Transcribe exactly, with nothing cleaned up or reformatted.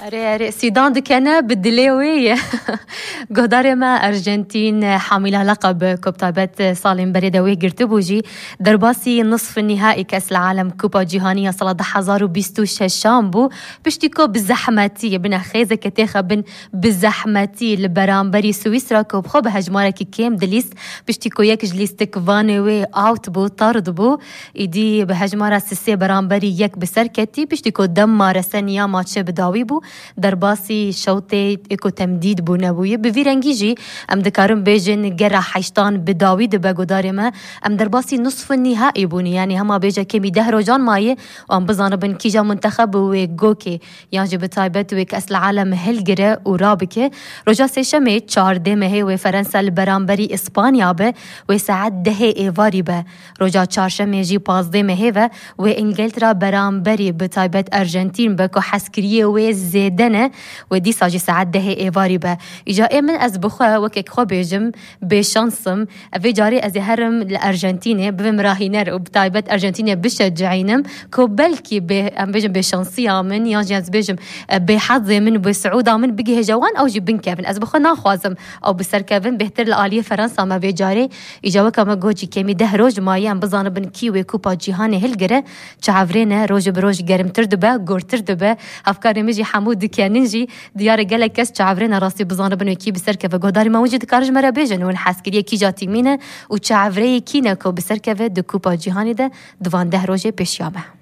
Erê, erê, Sîdan dikene bi dilê wê ye. Godarê me Arjantîn, hamîla leqeb ku bi taybet salên berê de wê girtibû jî, derbasî nisf nîhaî kes li alem Kupa Cîhanî ya sala du hezar û bîst û şeşan bû. Piştî ku bi zehmetî, bine xêzeke têxe bin, bi zehmetî li beramberî Swîsra ku bi xwe bi hejmarekî kêm dilîst, piştî ku yek ji lîstikvanê wê out bû, tard bû, îdî bi hejmara sisê beramberî yek bi ser ketî, piştî ku dema reseniya maçê bi dawî bû, derbasî şewtê êko temdîd bû nebûye. Bi vî rengî jî em dikarin bêjin gera heştan bi dawî dibe godarê me. Em derbasî nusf nîhaî bûne, yanî hema bêje kêmî deh rojan maye û em bizanibin kîja muntexeb wê gokê yan jî bi taybet wê kes li alem hilgire û rabike. Roja sêşemê çardê mehê wê Ferensa li beramberî Îspanya be, wê saet dehê êvarî be. Roja çarşemê jî pazdê mehê ve wê Îngiltera beramberî bi taybet Arjantîn be ku hezkiriyê wê zêde ne, wê dîsa jî saet dehê êvarî be. Îca ê min ez bi xwe wekek xwe bêjim, bêşans im. Vê carê ez ê herim li Arjantînê bivim rahîner û bi taybet Arjantînê bişecihînim ku belkî bê, em bêjin bêşansiya min yan jî ez bêjim, e, bêhezê min û bêsiûda min bigihêje wan, ew jî binkevin. Ez bi xwe naxwazim ew bi ser kevin, bêhtir li aliyê Ferensa me vê carê. Îca weke me got jî kêmî deh roj maye em bizanibin kî wê Kupa Cîhanê hilgire. Çavrê ne, roj bi roj germtir dibe, gortir dibe. Hevkarê min jî hemû dikenin jî. Diyar e gelek kes çavrê ne rastî bizanibin wê kî bi ser keve. Godarê me hûn jî dikarin ji me re bêjin, hûn hezkiriyê kîja tîmî ne û çavreyê kî ne ku bi ser keve di Kupa Cîhanê de di van deh rojê pêşiya me.